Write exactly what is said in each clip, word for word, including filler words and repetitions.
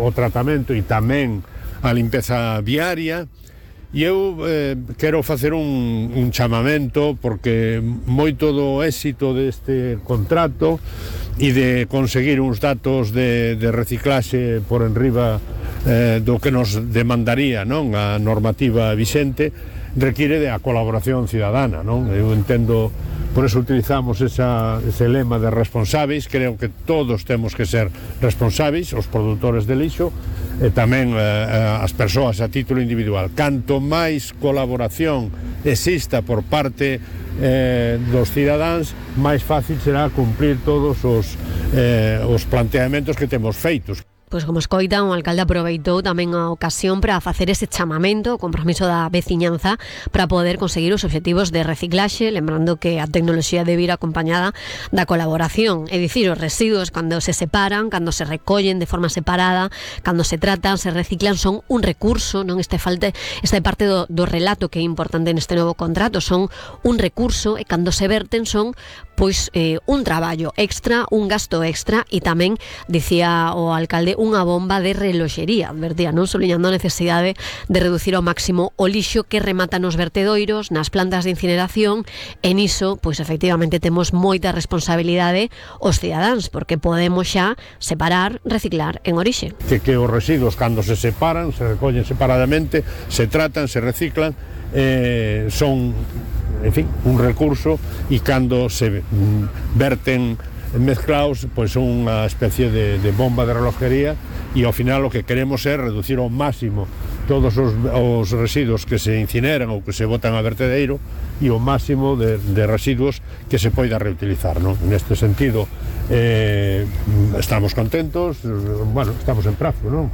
o tratamento e tamén a limpeza viaria. E eu eh, quero facer un, un chamamento, porque moito do éxito deste contrato e de conseguir uns datos de, de reciclaxe por enriba eh, do que nos demandaría, non, a normativa vixente, requiere de a colaboración cidadana, non? Eu entendo, por eso utilizamos esa, ese lema de responsáveis. Creo que todos temos que ser responsáveis, os produtores de lixo e tamén eh, as persoas a título individual. Canto máis colaboración exista por parte eh, dos cidadáns, máis fácil será cumplir todos os, eh, os planteamentos que temos feitos. Pois como escoita, o alcalde aproveitou tamén a ocasión para facer ese chamamento, o compromiso da veciñanza para poder conseguir os obxectivos de reciclaxe, lembrando que a tecnoloxía debe ir acompañada da colaboración, é dicir, os residuos cando se separan, cando se recollen de forma separada, cando se tratan, se reciclan, son un recurso, non este falte, esta é parte do, do relato que é importante neste novo contrato, son un recurso, e cando se verten son pois eh, un traballo extra, un gasto extra, e tamén, dicía o alcalde, unha bomba de reloxería, advertía, non, soliñando a necesidade de reducir ao máximo o lixo que remata nos vertedoiros, nas plantas de incineración, e niso, pois efectivamente temos moita responsabilidade os cidadáns, porque podemos xa separar, reciclar en orixe. Que, que os residuos, cando se separan, se recollen separadamente, se tratan, se reciclan, eh, son, en fin, un recurso, e cando se mm, verten mezclaos, pois son unha especie de, de bomba de relojería, e ao final o que queremos é reducir ao máximo todos os, os residuos que se incineran ou que se botan a vertedeiro, e o máximo de, de residuos que se poida reutilizar, non? Neste sentido eh, estamos contentos, bueno, estamos en prazo, non?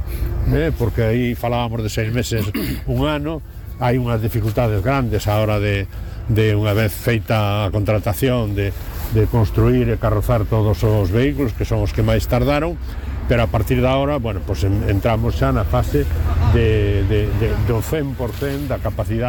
Eh, porque aí falábamos de seis meses, un ano. Hai unhas dificultades grandes a hora de, de unha vez feita a contratación, de, de construir e carrozar todos os vehículos, que son os que máis tardaron, pero a partir da hora, bueno, pues entramos xa na fase de, de, de, do cen por cen da capacidade